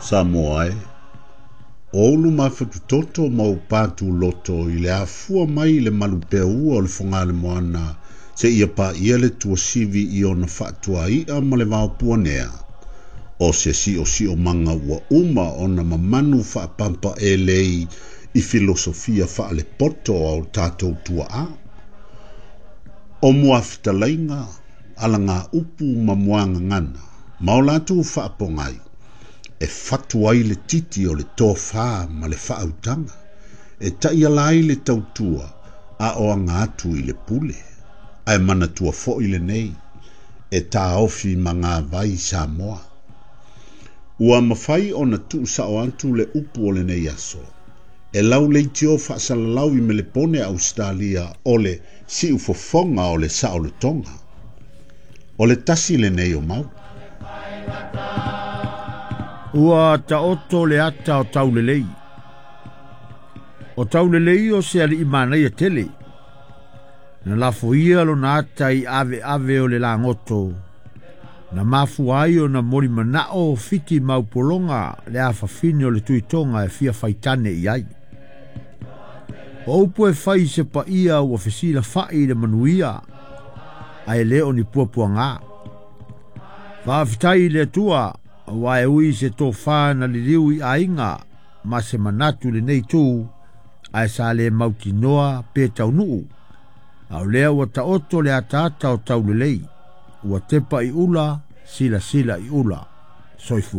Samoa e, o ulu mafatutoto ma ou patuloto i le afua mai i le malupeaua o le Fogaalemoana seia paia le tuasivi i ona faatuai'a ma le vaopuanea, o se siosiomaga ua uma ona mamanu faapampaelei i filosofia faalepoto a o tatou tuaa. O muafetalaiga, alagaupu ma muagagana, ma o latou faapogai, e fatu ai le titi o le tofā ma le faautaga, e taiala ai le tautua a o aga atu i le pule. Ae manatua foi lenei, e taofi magavai Samoa. Ua mafai ona tuusao atu le upu o lenei aso, e lauleitio faasalalau i Melepone Ausetalia o le siufofoga o le saolotoga. O le tasi lenei o mau. Ua taoto le ata o Taulelei. O Taulelei o se alii manaia tele. Na lafoia lona ata i aveave o le lagoto. Na mafua ai ona molimanao fiti ma upologa le afafine o le Tuitoga e fia faitane i ai. O upu e fai i se paia ua fesilafai i le manuia, ae le o ni puapuaga. Faafetai i le Atua, aua e ui i se tofā na liliu i aiga ma se manatu i lenei itu, ae sa le mautinoa pe taunuu, a o lea ua taoto le ataata o Taulelei, ua tepa i ula, silasila i ula. Soifua.